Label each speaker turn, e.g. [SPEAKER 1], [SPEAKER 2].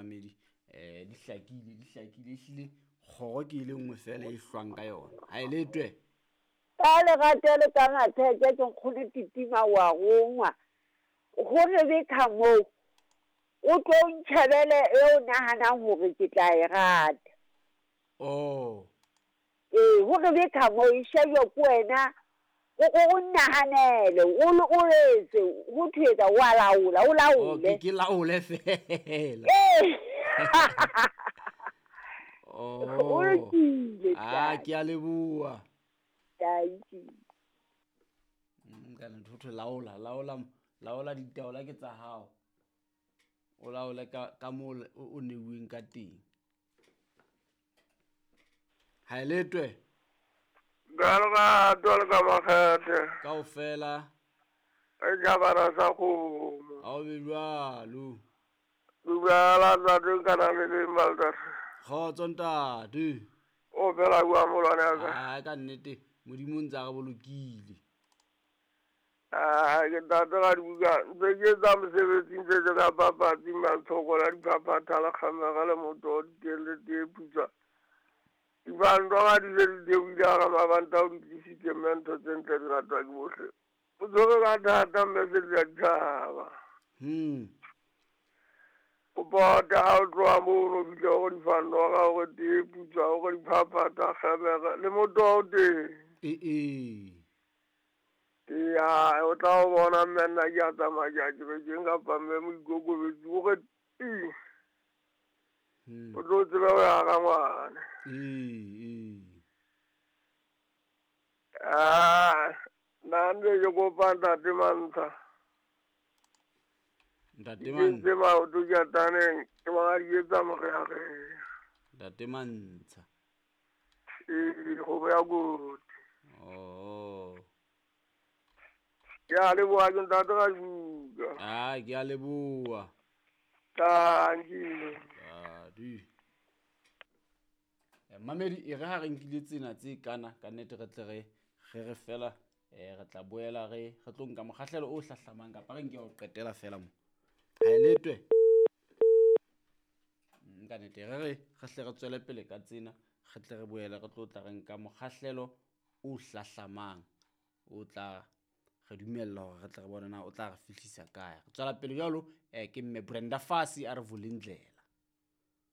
[SPEAKER 1] Mamedi, di hlakile, di hlakile ehlile. Kgoro ke e le nngwe fela e hlwang ka yona, ha e letwe.
[SPEAKER 2] Ka lerato le ka matheke ke nkgono Titima wa rongwa. Ho Rebecca moo o tlo ntjhebele e o nahanang hore ke tla e rata.
[SPEAKER 1] Oh.
[SPEAKER 2] Ee, ho Rebecca moo e shejwe ke wena, o o nahanele, o o etse, ho thwe etsa wa laola, o laole.
[SPEAKER 1] Oh, ke laole fela.
[SPEAKER 2] Ee.
[SPEAKER 1] Oh.
[SPEAKER 2] O lokile.
[SPEAKER 1] Ah, ke a leboha.
[SPEAKER 2] Thank you.
[SPEAKER 1] Ka nnete ho thwe laola, laola, laola ditaola ke tsa hao. O laole ka moo o neuweng ka teng. Ha e letwe.
[SPEAKER 3] Ka lerato le ka makgethe.
[SPEAKER 1] Kaofela.
[SPEAKER 3] E jabana sa kgomo.
[SPEAKER 1] Ha o be jwalo.
[SPEAKER 3] Dumela ntate nka na le leng maltate.
[SPEAKER 1] Kgotso ntate.
[SPEAKER 3] O phela jwang molwane wa ka?
[SPEAKER 1] Ah, ka nnete Modimo o ntse a re bolokile.
[SPEAKER 3] Ah, ke ntate ga dibuka ntse ke etsa mosebetsi ntse ke ka papatsi matshoko la diphaphatha le kgamega le moto diteng le tee putswa. Dibando ga di se di theohile hara mabanta o di tlisitse mme ntho tse ntle di ratwa ke bohle. O tshwere ka thata mme se di a ditjhaba. O pota ha o tloha mono o fihle hore difandora, hore tee putswa, hore diphaphatha, kgemere le moto o teng.
[SPEAKER 1] Ee.
[SPEAKER 3] Ya, o tla o bona mme nna ke a tsamaya ke a kerekeng kapa mme moikokobetsi o re ti. O tlo tsebe ho ya rangwane.
[SPEAKER 1] Ee.
[SPEAKER 3] Ah, nna ntse ke kopa ntate Mantsha.
[SPEAKER 1] Ntate
[SPEAKER 3] Ke
[SPEAKER 1] Mantsha.
[SPEAKER 3] ntse maoto ke a taneng, ke bona di etsa morearea.
[SPEAKER 1] Ntate Mantsha.
[SPEAKER 3] Ee, kgomo ya koti.
[SPEAKER 1] Oh.
[SPEAKER 3] Ke a leboha ke ntate Rabuka.
[SPEAKER 1] Ah, ke a leboha.
[SPEAKER 3] Thank you.
[SPEAKER 1] Tadi. Mamedi, e re ha re nkile tsena tse kana, ka nnete re tle re fela, re tla boela re tlo nka mokgahlelo o hlahlamang kapa re nke ho qetela fela mo. Ha e letwe. Ka nnete re hle re tswele pele ka tsena, re tle re boele re tlo tla re nka mokgahlelo o hlahlamang o tla re dumella hore re tle re bone na o tla re fihlisa kae. Re tswela pele jwalo, ke mme Brenda Fassie a re vulindlela.